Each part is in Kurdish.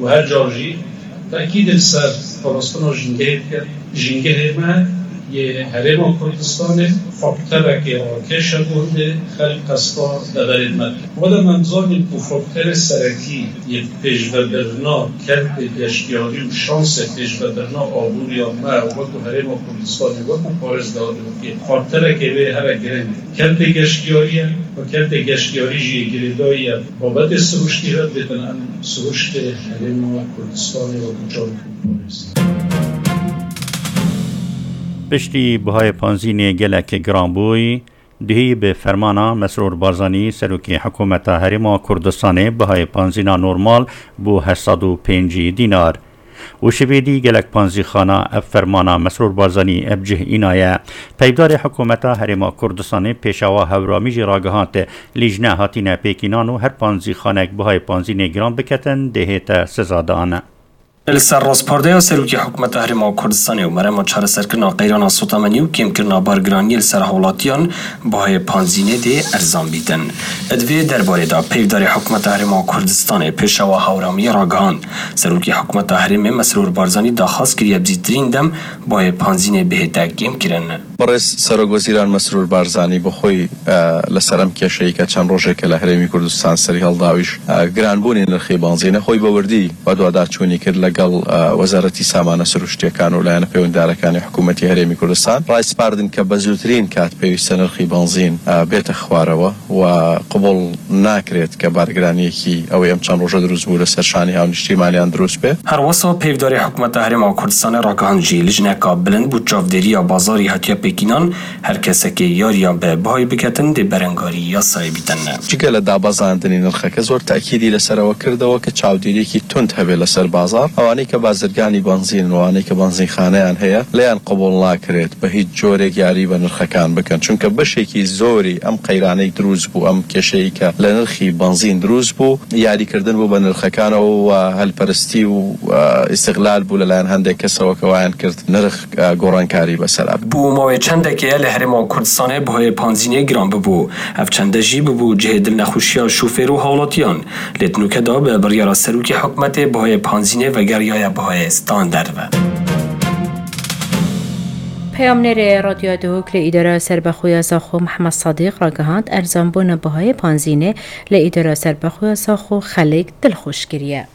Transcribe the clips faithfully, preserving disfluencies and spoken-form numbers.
û her car jî tekîd li ser parastina jîngehê dike. Jîngehê me yê Herêma Kurdistanê faktoreke rakeş e bo hindê xelk qesta deverên me dike. Wele em zanîn ku faktorê serekî yê pêşvebirina kertê geştiyarî û şansê pêşvebirina aboriya me wekî Herêma Kurdistanê, wekî parêzgahê, faktoreke wê here giring e. Kertê geştiyarî ye û kertê geştiyarî jî yê girêdayî ye. Babetê siruştî re dibêtin em siruştê Herêma Kurdistanê wekî çar parêz. Piştî bihayê panzînê gelek giranbûyî, duhî bi fermana Mesrûr Barzanî, serokê hikûmeta Herêma Kurdistanê, bihayê panzîna normal bû heşt sed û pêncî dînar. Û şivê dî gelek panzîxana ev fermana Mesrûr Barzanî ev cih înaye. Peyvdarê hikûmeta Herêma Kurdistanê Pêşawa Hewramî jî ragihand, lîjne hatine pêkînan û her panzîxanek bihayê panzînê giran biketin, dêhête sizadan. Li ser rastpardeya Serokê Hikûmeta Herêma Kurdistanê û merema çareserkirina qeyrana sotemenî û kêmkirina bargiraniyê li ser hawlatiyan, bihayê panzînê dê erzan bîtin. Di vê derbarê de peyvdarê Hikûmeta Herêma Kurdistanê Pêşawa Hewramiyê ragihand, Serokê Hikûmeta Herêmê Mesrûr Barzanî daxwaz kiriye bi zîtirîn dem bihayê panzînê bihête kêmkirin. بەڕێز سەرۆک وەزیران مەسرور بارزانی بە خۆی، ئە، لەسەر ئەم کێشەی کە چەند ڕۆژێکە لە هەرێمی کوردستان سەری هەڵداویش، ئە، گرانبوونی نرخی بەنزینە خۆی بە وردی بە دواداچوونی کرد لەگەڵ، ئە، وەزارەتی سامانە سروشتیەکان و لایەنە پەیوەنددارەکانی حکوومەتی هەرێمی کوردستان. ڕایسپاردن کە بە زووترین کات پێویستە نرخی بەنزین، ئە، بێتە خوارەوە و قبول ناکرێت کە بارگرانیەکی ئەوەی ئەم چەند ڕۆژە دروست بوو لەسەر شانی هاونیشتیمانیان دروست بێت. Her wisa peyvdarê Hikûmeta Herêma Kurdistanê ragihand jî lijneka bilind bo çavdêriya bazarî hatiye pêkînan, her kesekê yariya bi bihayê biketin dê berengarî yasayê bîtin. جگە لە دابەزاندنی نرخەکە زۆر تەکیدی لەسەرەوە کردەوە کە چاودێریەکی تونت هەبێت لەسەر بازار. ئەوانەی کە بازرگانی بەنزین و ئەوانەی کە بەنزینخانەیان هەیە، لێیان قبول ناکرێت بە هیچ جۆرێک یاری بە نرخەکان بکەن، چونکە بەشێکی زۆری ئەم قەیرانەی دروست بوو، ئەم کێشەی کە لە نرخی بەنزین دروست بوو، یاریکردن بوو بە نرخەکانەوە و هەلپەرستی و، ئە، ئیستغلال بوو لەلایەن هەندێک کەسەوە کە وایان کرد نرخ، ئە، گۆڕانکاری بەسەر. Bo mawê çendekê ye li Herêma Kurdistanê bihayê panzînê giran bibû. Ev çende jî bibû cihê dilnexweşiya şofêr û hawlatiyan. Lê di nûke de bi biryara serokê hikûmetê bihayê panzînê vegeriyaye bihayê standard ve. Peyamnêrê Radyoya Duhok li Îdara Serbexwe ya Zaxo Mihemed Sadiq ragihand, erzanbûna bihayê panzînê li Îdara Serbexwe ya Zaxo xelk dilxweş kiriye.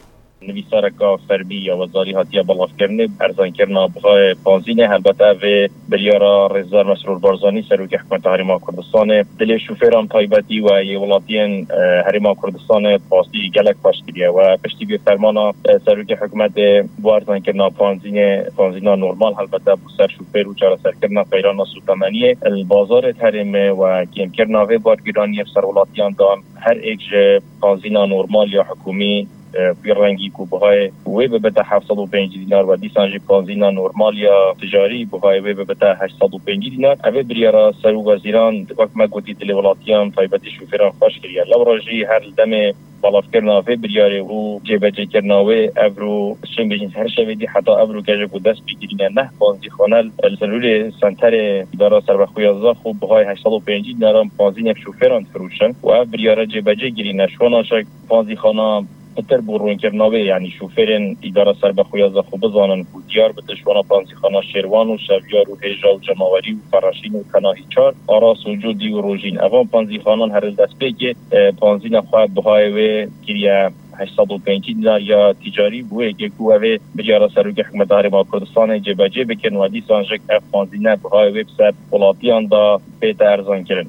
Nivîsareka fermî ya wezarî hatiye belavkirinê, erzankirina bihayê panzînê, helbet ev ê biryara Rêzdar Mesrûr Barzanî, Serokê Hikûmeta Herêma Kurdistanê, dilê şofêran taybetî we yê welatiyên, e, Herêma Kurdistanê rastî gelek xweş kiriye. We piştî vê fermana, e, Serokê Hikûmetê bo erzankirina panzînê, panzîna normal helbete bo ser şofêr û çareserkirina qeyrana sotemeniyê li bazarê herêmê we kêmkirina vê bargiraniyê li ser welatiyan dan. Her êk ji panzîna normal ya hikûmî, e, wî rengî ku bihayê wê bibite heft sed û pêncî dînar we dîsan jî panzîna normal ya ticarî bihayê wê bibite heşt sed û pêncî dînar. Ev ê biryara serok wezîran wek me gotî dilê welatiyan taybetî şofêran xweş kiriye. Lewra jî her li demê belavkirina vê biryarê û cêbecêkirina wê evro, çi bêjin, her şevê dî heta evro ke ji ku dest pê kirîne neh panzîxane li Silûlê senterê Îdara Serbexwe ya Zaxo bihayê heşt sed û pêncî dînaran panzînek şofêran difiroşin û ev biryare cêbecê kirîne. Şona çek panzîxana pitir bo rûnkirina wê, yanî şofêrên Îdara Serbexwe ya Zaxo bizanin ku diyar bite şona panzîxana Şêrwan û Şevyar û Hêja û Cemawerî û Fereşîn û Tenahî Çar, Aras û Cûdî û Rojîn. Evan panzîxanan her li destpêkê, e, panzîna xwe bihayê wê kiriye heşt sed û pêncî dînar ya ticarî. Bo yekê ku ev ê biryara Serokê Hikûmeta Herêma Kurdistanê cêbecê bikin we dîsan jî ev panzîne bihayê wê bi ser welatiyan de bête erzankirin.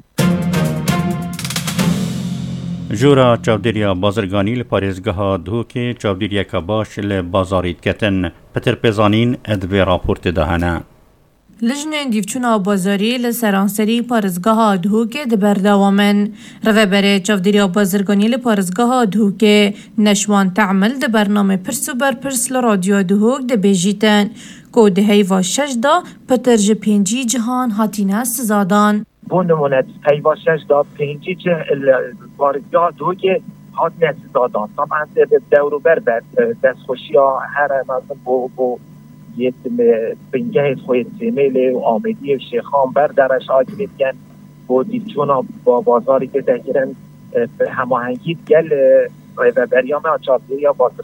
Jora çavdêriya bazirganî li parêzgeha Duhokê çavdêriyeke baş li bazarî diketin. Pitir pêzanîn di vê raportê de hene. Lijnên dîvçûna bazarî li seranserî parêzgeha Duhokê di berdewam in. Rêveberê çavdêriya bazirganî li parêzgeha Duhokê Neşwan Temil di bernamê Pirs û Berpirs li Radyoya Duhok de bêjîtin ku di heyva şeş de pitir ji pêncî cihan hatine sizadan. Bo nimûne, heyva şeş de pêncî cih li parêzgeha Duhokê hatine sizadan. Taban, dewrûber be, destxweşiya here mezin bo, bo yê bingehê xwe yê Sêmêlê û Amêdiyê û Şêxan ber dereş agirê dikin. Bo dîvçûna ba-, bazarî tê de kirin, e, bi hemahengî digel, e, rêveberiya me a çavdêriya bazir